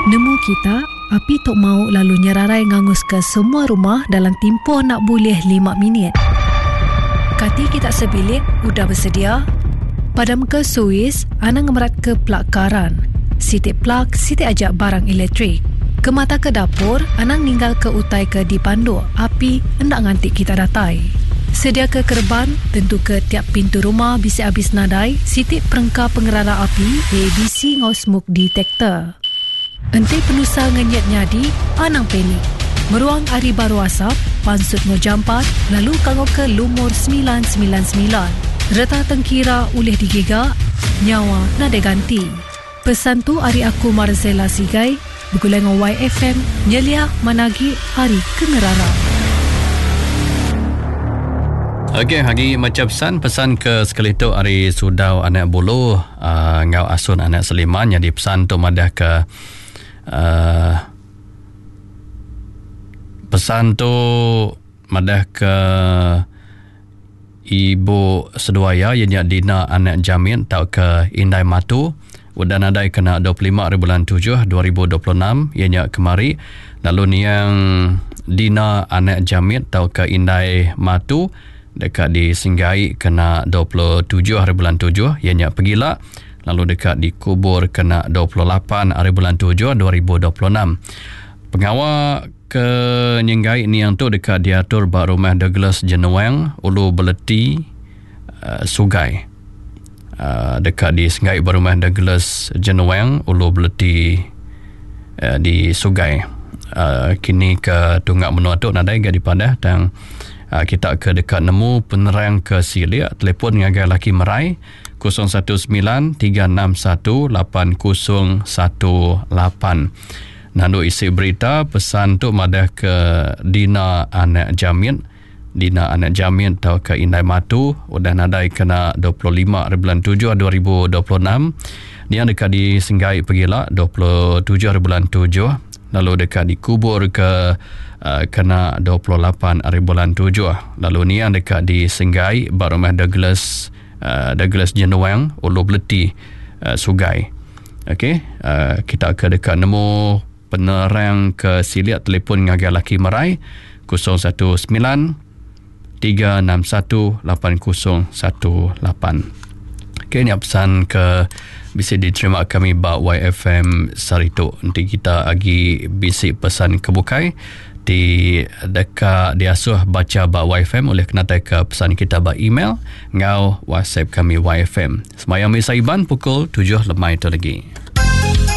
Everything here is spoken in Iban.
Nemu kita, api tu mau lalu nyerarai nganguska semua rumah dalam timpuh enda bulih lima minit. Kati kita sebilik udah besedia? Padamka suis, anang ngemeratka plug karan. Siti plug, siti aja barang elektrik. Kemataka dapur, anang ninggalka utai ke dipanduk api enda nganti kita datai. Sediaka kereban, tentuka tiap pintu rumah bisi abis nadai siti perengka pengerara api, ABC enggau smoke detector. Enti penusah ngenyit nyadi, anang panik. Meruang ari baruh asap, pansut enggau jampat lalu kangauka lumur 999. Reta tengkira ulih digiga, nyawa nadai ganti. Pesan tu ari aku Marzella Sigai begulai enggau YFM nyeliah manah agi ari ke ngerara. Okey, agi macha pesan, pesan ke sekali tu ari Sudau anak Bulu uh, enggau Asun anak Seliman nyadi pesan tu madah ke uh, pesan tu madah ke Ibu seduai iya, iya nya Dina anak Jamit tauka Indai Matu, udah nadai kena 25 hari bulan tujuh 2026, iya nya kemari, lalu niang Dina anak Jamit tauka Indai Matu deka disenggai kena 27 hari bulan tujuh, iya nya pegila, lalu deka dikubur kena 28 hari bulan tujuh 2026. Pengawa Ke nyenggai niang tu deka diatur ba Rumah Douglas Jenuang, Ulu Beleti, Sugai. Deka disenggai ba Rumah Douglas Jenuang, Ulu Beleti di Sugai. Kini ke tunga menua tu nadai ga dipadah tang kita ke deka nemu penerang ke silik telefon ngagai laki Merai 019 361 8018. Nandu isi berita pesan tu madah ke Dina anak Jamit, Dina anak Jamit tauka Indai Matu udah nadai kena 25 hari bulan tujuh 2026. Nia deka disenggai pegila 27 hari bulan tujuh lalu deka dikubur ke uh, kena 28 hari bulan tujuh. Lalu nia deka disenggai ba rumah Douglas uh, Douglas Jenuang Ulu Beleti uh, Sugai. Okey, uh, kita ke deka nemu penerang ke silik telefon ngagai laki Merai 019 361 8018. Okey, nya pesan ke bisi diterima kami ba YFM sehari tu. Enti kita agi bisi pesan ke bukai ti deka diasuh bacha ba YFM ulih kenatai ke pesan kita ba email enggau WhatsApp kami YFM. Semaya Misa Iban pukul 7 lemai tu lagi.